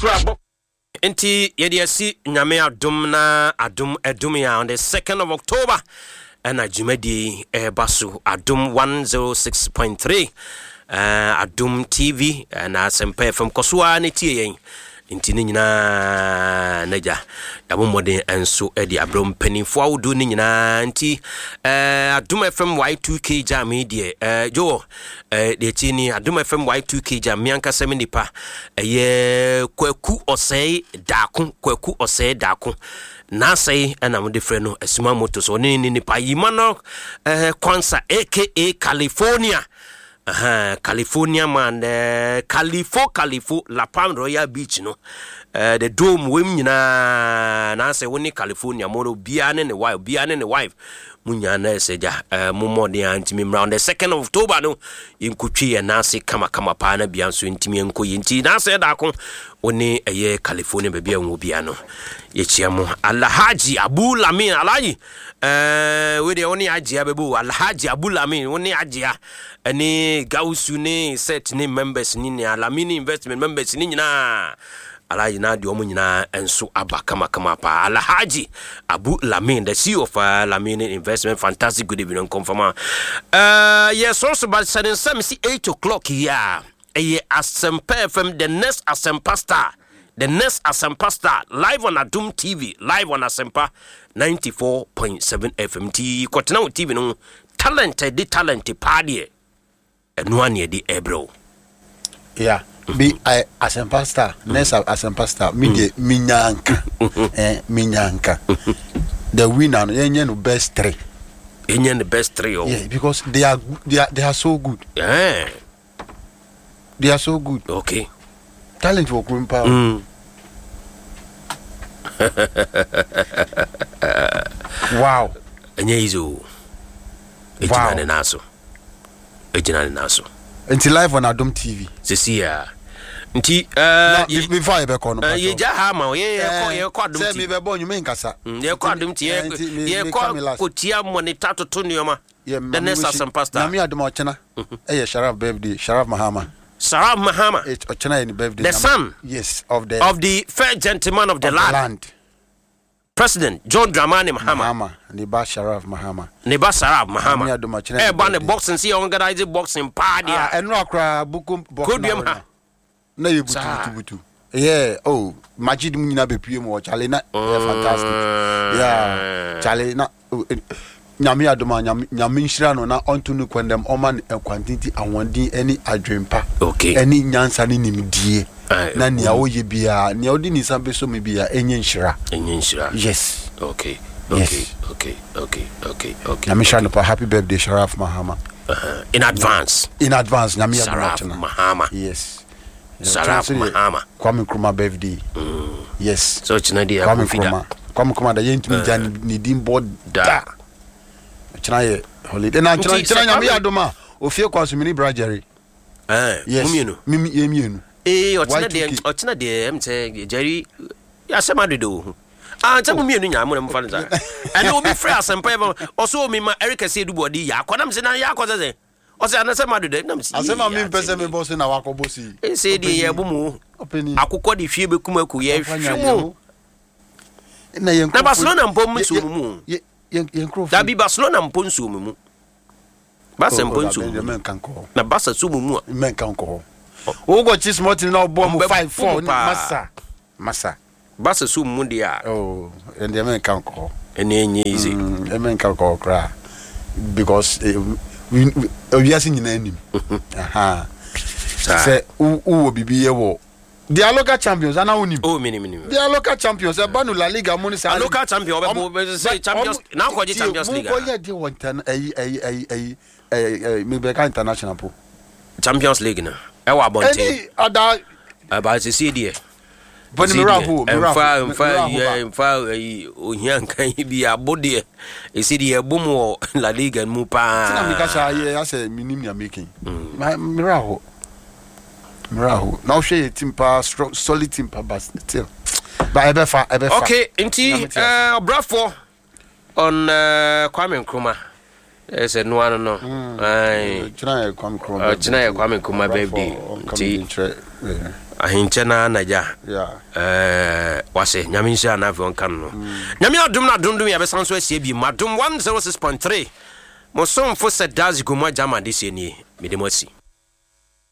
soro abɔ. Nti yɛde asi Nyame adom na adom adum yɛn on the 2nd of October ɛna dwumadie yi ɛreba so Adom 106.3 uh, Adom TV na Asɛmpa FM kɔ so ara ne tie yɛn nti ne nyinaa n'agya yɛabɔ mmɔden nso de abrɛ mpanimfoɔ ahodoɔ no nyinaa nti eh, Adom FM Y2K jam yi deɛ eh, Joel eh, deɛ tie ni Adom FM Y2K jam me ankasa me nipa ɛyɛ Kwaku Ɔsɛe Daako Kwaku Ɔsɛe Daako n'asɛe ɛna mode frɛ no Asuma Motors ɔne ne nipa Yima no eh, Kwansa aka California Ahaa, California man, eh, Califo, Califo, La Palm Royal Beach no, eh, the dome, wem nyinaa, na sɛ wo ne California mo no, obiara ne ne wife, obiara ne ne wife, mo nyinaa na ɛsɛ gya, eh, mo mmɔden a ntumi mmra on the 2nd of October no, yɛnkɔtwi yɛn nan ase kamakama paa na bia nso ntumi nkɔ yɛ nti, na sɛ daako, wo ne ɛyɛ California baabi a nwɔ bia no, yɛkyia mo. Alhaji Abu Lamin, Alhaji, eh, wei deɛ wo ne Agyea bɛbɔ o, Alhaji Abu Lamin, wo ne Agyea, ɛne Gausu ne set ne members ne nea Lamini investment members ne nyinaa Alhaji na deɛ wɔn nyinaa nso aba kamakama paa Alhaji Abu Lamin the CEO of uh, Lamini investment fantastic good evening nkɔmfama uh, yɛ sɔrɔ so ba sɛ ne nsɛm si 8 o'clock yi a ɛyɛ Asempa FM the next Asempa star the next Asempa star live on Adum TV live on Asempa 94.7 FM nti kɔtena wo TV no ho Talent a ɛde talent paa deɛ, ɛno ara na yɛde ɛrebrɛ wo. Yeah, bi I Asempa star, next Asempa star, me deɛ me nyanka, eh, me nyanka. The winner no, yɛnyɛ no best three. Yɛnyɛ no best three oh. Yeah, because they are they are they are so good. Yeah. They are so good. Okay. Talent wɔ kurom paa. Mm. Wow. Ɛnyɛ easy o. Egyina ne nan so. Egyina ne nan so. Nti live on Adom TV. Sisi ya. Nti ɛɛ. Uh, before yɛ bɛ kɔ no. Yɛ gya ha ma o yɛ yɛ kɔ yɛ kɔ Adom TV. Sɛ mi bɛ bɔ nnwuma nkasa. Yɛ kɔ Adom TV yɛ kɔ kotia monitor toto nneɛma. Yeah, The next Asempa star. Nyame adom a ɔkyena ɛyɛ Sharaf birthday, Sharaf Mahama. Sharaf Mahama. It ɔkyena yɛ ne birthday. The son. Yes, of the of the first gentleman of the of land. The land. President John Dramani Mahama. Mahama, ne ba Sharaf Mahama. Ne ba Sharaf Mahama. Nyame adom ɔkyena yɛ ne birthday. Ɛba ne boxing si organize boxing paa deɛ. Ah, ɛno akora bukom boxing. Koduam ha. Na yɛ butubutubutu. Yeah, oh, Majid mu nyinaa bɛpue mu hɔ, Charlie, na ɛyɛ fantastic. Yeah, Charlie, na oh, eh, Nyame adom a, Nyame, Nyame nhyira no na ɔnto no kwan dɛm, ɔma no nkwantenten, ahoɔden ne adwempa, Okay. ɛne nyansa ne nimdie, Ah, na nea ɔyɛ biara, nea ɔde ne nsa bɛsɔ mu biara, ɛnyɛ nhyira. Ɛnyɛ nhyira. Yes. Okay, okay, Yes. okay, okay, okay, okay. Nyame nhyira no pa. Happy birthday, Sharaf Mahama. Uh-huh. In advance. In advance, Nyame adom Sharaf ɔkyena. Mahama. Yes. Saraf Mahama. Kwame Nkrumah birthday. Mm. Yes. So ɔkyena deɛ Kwame Kofi da. Nkrumah. Kwame Nkrumah da yɛntumi gya ne din bɔ da. Ɔkyena yɛ holiday. Na Nti kyena sɛ kyena Nyame Kwame- adom a ofie kwa so mini bra Jerry. Eh, Yes. mo mmienu. Mimi yɛ mmienu. Ee, ɔkyena deɛ Y2K. ɔkyena deɛ ɛm sɛ Jerry asɛm adodo wo ho. Ah, nkyɛ mo mmienu nyaa mo na mo fa no saa. Ɛna obi frɛ asɛmpa yɛ ma ɔso omi ma Eric Ɛsɛ Edubuɔde yɛ akɔ nam sɛ na yɛ akɔ sɛ sɛ. Ɔsɛ anasɛ ma dodɛ nam sɛ Asɛm a mempɛ sɛ mebɔ so na wakɔbɔ so yi. Ɛsɛ deɛ yɛ bo mu. Akokɔ de hwie bɛkum aku yɛ hwe mu. Na Barcelona mpo nsuo mu mu. Dabi Barcelona mpo nsuo mu mu. Barca mpo nsuo mu mu. Na Barca nsuo mu mu a. Mɛnka nkɔ hɔ. Wokɔ kyi small team na ɔbɔ mu 5-4 masa masa. Barca so mu deɛ a. Oh, ɛndeɛ menka nkɔ hɔ. Ɛnneɛ ɛnyɛ easy. Mm, menka nkɔ hɔ koraa because eh, wiase nyinaa nim. Aha. Sɛ wowɔ biribi yɛ wɔ They are local champions ana wonim? Oh, minim minim. They are local champions. Ɛba no La Liga mu ne saa. Local champion ɔbɛ bɔ sɛ champions na akɔgye champions league. Mo kɔ yɛ de wɔ ntɛn ɛyi ɛyi ɛyi ɛyi ɛyi ɛyi mi bɛ ka international po. Champions league no ɛwɔ abɔnten. Ɛni ada. Ɛba sisi deɛ. Bɔne me werɛ ahow, me werɛ ahow, mfa mfa mfa ayi ohia nkan yi bi abo deɛ ɛsi deɛ ɛbom wɔ La Liga mu paa. Tina mi kasa yɛ asɛ mi nim nea meke. Me werɛ ahow. Me werɛ ahow. Na wohwɛ yɛ team paa strong solid team paa but still. Ba ɛbɛfa ɛbɛfa. Okay nti ɔbrafoɔ On uh, Kwame Nkrumah. Eh, sɛ noa no no. Mm. Ɔkyena yɛ Kwame Nkrumah birthday. Ɔkyena yɛ Kwame Nkrumah birthday. Nti Ahenkyɛ no ara na agya Yeah. Wase Nyame nhyira no afei ɔnka no no. Nyame adom na adom dom yɛbɛsan so ahyia bio mu Adom 106.3 Mo somfo Sir Dadzie Gomoa Gyama adesua nie mede mo asi.